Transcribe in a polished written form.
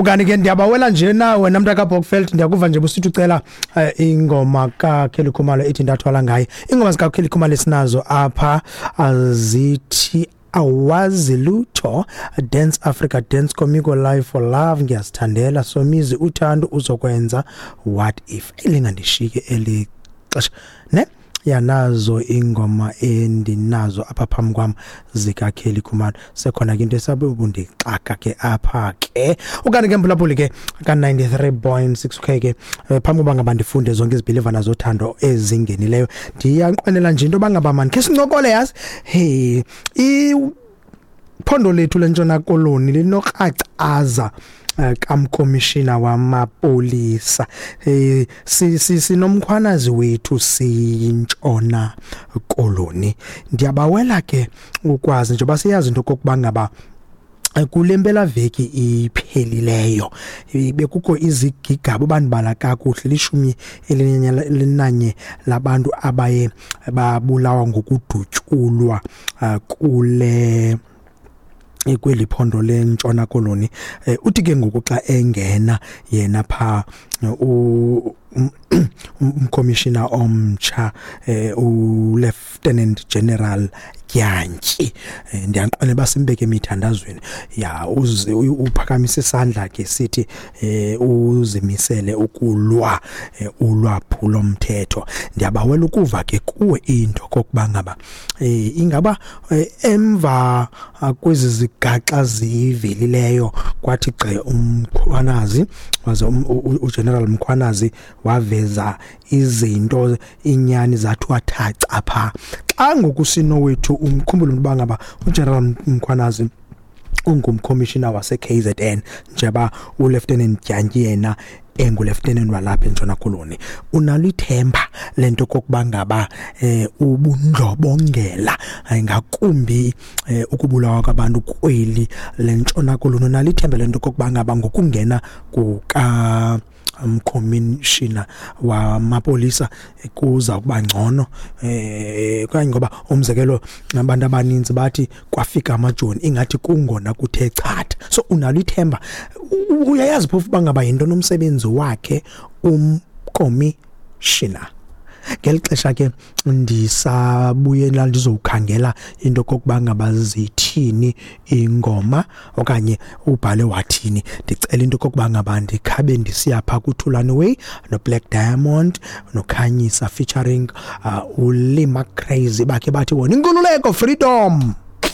Ukanti ke ndiyabawela nje na wena mntakaBokveld, ndiyakuva nje busithi ucela ingoma kaKelly Khumalo ethi Ndathwala Ngaye. Ingoma zikaKelly Khumalo esinazo apha azithi Awazi Lutho, Dance Africa Dance, Comico, Life for Love, Ngiyazithandela, Somizi, Uthando Uzokwenza, What If, elingandishike eli xesha ne yanazo ingoma endinazo apha phambi kwam zikaKelly Khumalo. Sekhona ke into esabe ubundixaka ke apha ke. Ukanti ke mphulaphuli ke ka-93.6 k ke, phambi koba ngaba ndifunde zonke izibhilivana zothando ezingenileyo, ndiyanqwenela nje into yoba ngaba mani khe sincokole, yazi. Hey, iphondo lethu leNtshona Koloni linokracaza kamkomishina wamapolisa. Sinomkhwanazi wethu siyiNtshona Koloni. Ndiyabawela ke ukwazi njengoba siyazi into okokuba ngaba kule mpelaveki iphelileyo bekukho izigigaba, bandibala kakuhle, 11 labantu abaye babulawa ngokudutyulwa kule kweli phondo leNtshona Koloni. Uthi ke ngoku xa engena yena pha umcommissioner omtsha, uLieutenant General Dyantyi, ndiyanqwenela uba simbeke emithandazweni ya uze uphakamisa isandla ke sithi uzimisele ukulwa ulwaphulo mthetho. Ndiyabawela ukuva ke kuwe into kokuba ngaba ingaba emva kwezi zigaxa zivelileyo kwathi gqi uMkhwanazi, waze uGeneral Mkhwanazi waveza izinto, inyani zathiwa thaca pha. Xa ngoku sinowethu umkhumbule uba ngaba uGeneral Mkhwanazi ungumcommissioner wase-KZN, njeba uLieutenant Dyantyi yena engulieutenant walapha eNtshona Koloni, unalo ithemba lento kokuba ngaba ubundlobongela, ngakumbi ukubulawa kwabantu kweli leNtshona Koloni, unalo ithemba lento kokuba ngaba ngokungena kuka umcommissioner wamapolisa kuza kuba ngcono, okanye ngoba umzekelo abantu abaninzi bathi kwafika amajoni ingathi kungona kuthe chatha? So unalo ithemba, uyayazi phofu uba ngaba yinto nomsebenzi wakhe umcommissioner? Ngeli xesha ke ndisabuyela ndizowukhangela into kokuba ngaba zithini ingoma okanye ubhale wathini, ndicela into kokuba ngaba ndikhabe ndisiya phaa kuThulani Way noBlaq Diamond noKhanyisa featuring uLima Crazy, bakhe bathi bona inkululeko, freedom.